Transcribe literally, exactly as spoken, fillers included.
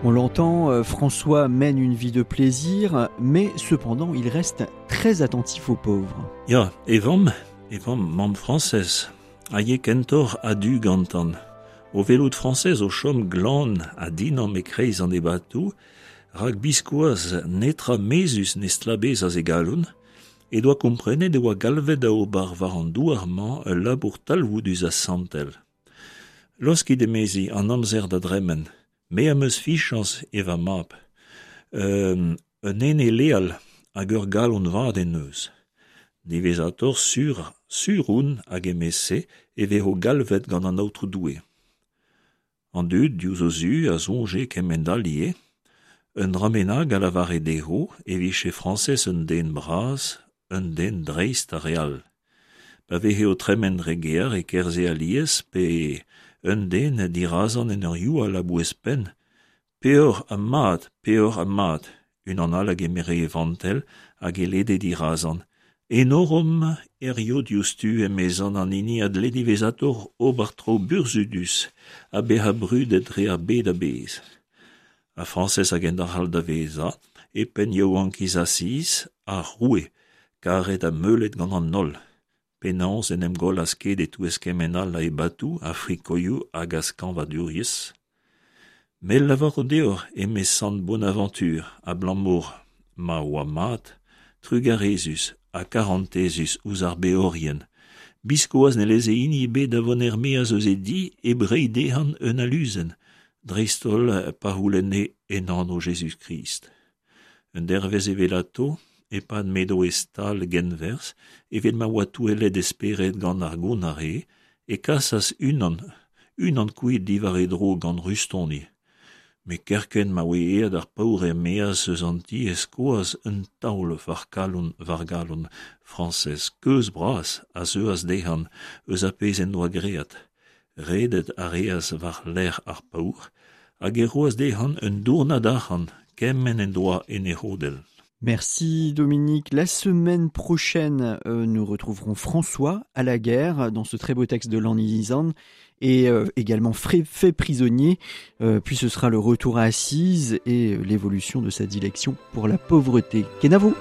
On l'entend, euh, François mène une vie de plaisir, mais cependant il reste très attentif aux pauvres. Ya, e vamm, e vamm, mamm Frañsez, a ye kentoc'h a-du gantan. O welout Frañsez o chom glan ha dinamm e-kreiz an ebatoù, rak biskoazh netra mezhus ne stlabezas e galon, he doa komprenet e oa galvet da ober war an douar-mañ ul labour talvoudus ha santel. Laoskit, emezi, an amzer da dremen. Me am eus fiziañs e va mab. Un, un ene leal hag ur galon vat en deus. Diwezhatoc'h sur, sur on hag emeze e vezo galvet gant an Aotrou Doue. An dud diouzh o zu a soñje kement-all ivez. Un dra bennak a lavare dezho e vije Frañsez un den bras, un den dreist ar re all. Pa veze o tremen dre gêr e kerzhe alies pe un den dirazan en ur youal a-bouez-penn. Peoc'h ha mat, peoc'h ha mat. Unan all a gemere e vantell hag e lede dirazan. Enoromp hirio diouzhtu emezan an hini a dle diwezhatoc'h ober traoù burzhudus ha bezañ brudet dre ar bed a-bezh. Ha Frañsez a gendalc'h da vezañ e penn yaouankiz Asiz, ar roue, karet ha meulet gant an holl. Penaos en em gollas ket e-touez kement all a ebatoù, a frikoioù hag a skañvadurezh. M'el lavaro deoc'h, eme sant Bonaventure, abalamour ma oa mat, trugarezus ha karantezus ouzh ar beorien. Biskoazh ne leze hini ebet da vont er-maez eus e di hep reiñ dezhañ un aluzenn, dreist-holl pa c'houlenne en anv Jezuz-Krist. Un dervezh evelato, e-pad m'edo e stal genwerzh, evel ma oa touellet e spered gant ar gonare, e kasas unan, unan kuit diwar e dro gant rustoni. Met kerkent ma oa aet ar paour er-maez eus an ti e skoas un taol war kalon war galon Frañsez keuz bras a zeuas dezhañ eus ar pezh en doa graet. Redet a reas war-lerc'h ar paour hag e roas dezhañ un dournad arc'hant kement en doa en e c'hodell. Merci Dominique. La semaine prochaine, euh, nous retrouverons François à la guerre dans ce très beau texte de Lannisan et euh, également fait prisonnier. Euh, puis ce sera le retour à Assise et l'évolution de sa dilection pour la pauvreté. Kenavo!